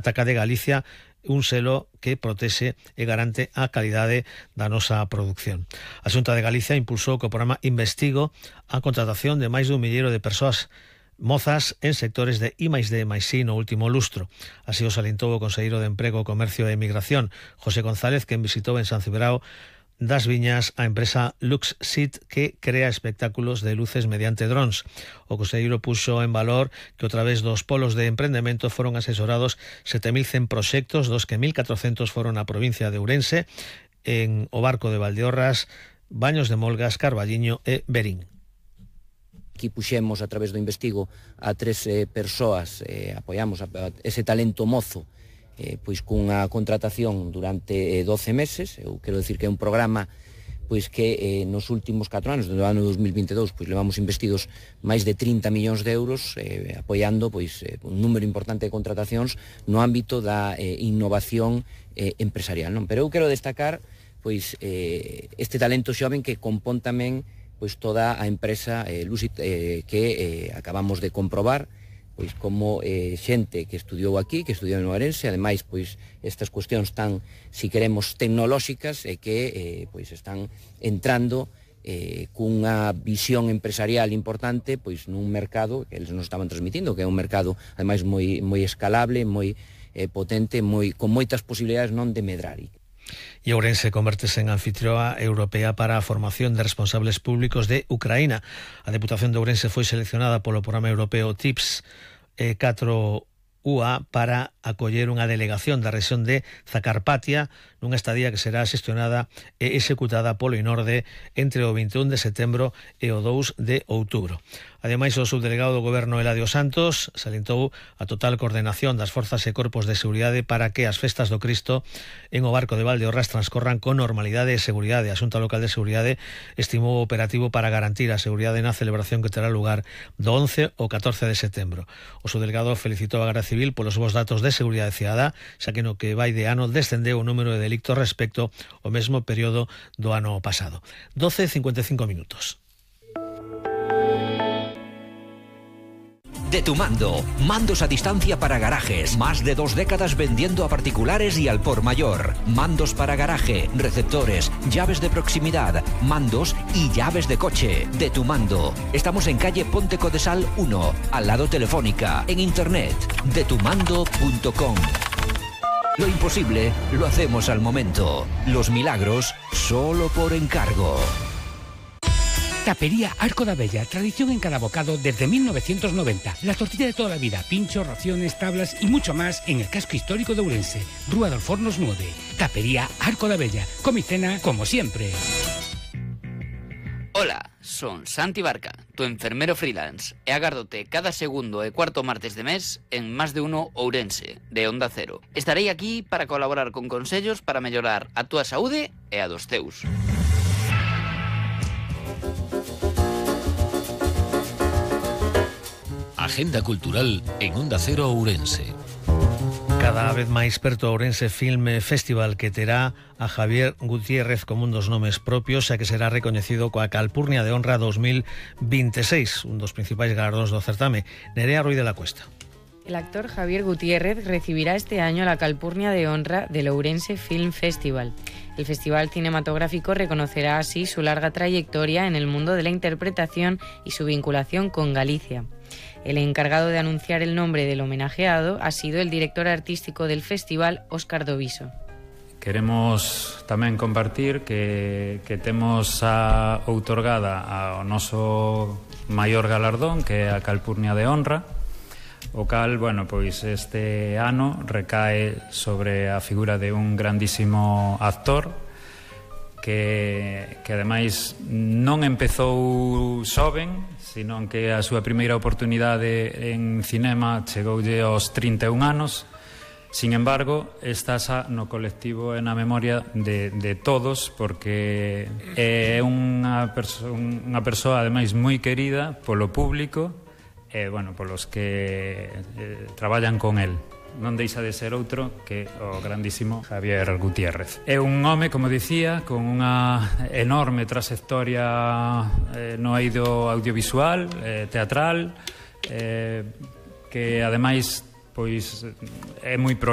Ataca de Galicia, un selo que protexe e garante a calidade da nosa produción. A Xunta de Galicia impulsou co programa Investigo a contratación de máis dun milleiro de persoas mozas en sectores de I+D+I no último lustro. Así o salientou o conselleiro de Emprego, Comercio e Emigración, José González, quen visitou en San Cibrao das Viñas a empresa Luxsit, que crea espectáculos de luces mediante drons. O conselleiro puxo en valor que a través dos polos de emprendemento foron asesorados 7.100 proxectos, dos que 1.400 foron na provincia de Ourense, en o Barco de Valdeorras, Baños de Molgas, Carballiño e Berín. Aquí puxemos a través do Investigo a 3 persoas, apoiamos ese talento mozo, pois cunha contratación durante 12 meses. Eu quero dicir que é un programa pois que nos últimos 4 anos, do ano 2022, pois levamos investidos máis de 30 millóns de euros apoiando pois un número importante de contratacións no ámbito da innovación empresarial, non? Pero eu quero destacar pois este talento xoven que compón tamén pois toda a empresa Luxsit, que acabamos de comprobar pois como xente que estudiou aquí, que estudiou en Ourense, ademais pois estas cuestións tan, si queremos, tecnolóxicas e que pois están entrando cunha visión empresarial importante pois nun mercado que eles nos estaban transmitindo, que é un mercado ademais moi escalable, moi potente, con moitas posibilidades non de medrar. E Ourense convértese en anfitrioa europea para a formación de responsables públicos de Ucraína. A Deputación de Ourense foi seleccionada polo programa europeo TIPS 4UA para acoller unha delegación da rexión de Zacarpatia nunha estadía que será xestionada e executada polo INORDE entre o 21 de setembro e o 2 de outubro. Ademais, o subdelegado do Goberno Eladio Santos salientou a total coordenación das forzas e corpos de seguridade para que as festas do Cristo en o Barco de Valdeorras transcorran con normalidade e seguridade. A Xunta Local de Seguridade estimou o operativo para garantir a seguridade na celebración que terá lugar do 11 ao 14 de setembro. O subdelegado felicitou a Garda Civil polos bons datos de seguridade cidadá, xa que no que vai de ano descendeu o número de delictos respecto ao mesmo período do ano pasado. 12:55 minutos. De Tu Mando, mandos a distancia para garajes, más de 2 décadas vendiendo a particulares y al por mayor, mandos para garaje, receptores, llaves de proximidad, mandos y llaves de coche. De Tu Mando, estamos en calle Ponte Codesal 1, al lado Telefónica, en internet, detumando.com. Lo imposible lo hacemos al momento, los milagros solo por encargo. Tapería Arco da Bella, tradición en cada bocado desde 1990. La tortilla de toda la vida, pinchos, raciones, tablas y mucho más en el casco histórico de Ourense. Rúa dos Fornos 9. Tapería Arco da Bella. Come y cena como siempre. Hola, son Santi Barca, tu enfermero freelance, e agárdote cada segundo e cuarto martes de mes en Más de Uno Ourense, de Onda Cero. Estarei aquí para colaborar con consellos para mellorar a túa saúde e a dos teus. Agenda cultural en Onda Cero Ourense. Cada vez máis perto o Ourense Film Festival, que terá a Javier Gutiérrez como un dos nomes propios e que será recoñecido coa Calpurnia de Honra 2026, un dos principais galardóns do certame. Nerea Ruiz de la Cuesta. El actor Javier Gutiérrez recibirá este año la Calpurnia de Honra del Ourense Film Festival. El festival cinematográfico reconocerá así su larga trayectoria en el mundo de la interpretación y su vinculación con Galicia. El encargado de anunciar el nombre del homenajeado ha sido el director artístico del festival, Óscar Doviso. Queremos tamén compartir que temos outorgada ao noso maior galardón, que é a Calpurnia de Honra, o cal, bueno, pois este ano recae sobre a figura de un grandísimo actor que ademais non empezou xoven, sino que a súa primeira oportunidade en cinema chegoulle aos 31 anos. Sin embargo, está xa no colectivo e na memoria de todos, porque é unha persoa ademais moi querida polo público e, bueno, polos que traballan con el. Non deixa de ser outro que o grandísimo Javier Gutiérrez. É un home, como dicía, con unha enorme trayectoria no eido audiovisual, teatral, que ademais pois é moi prolífico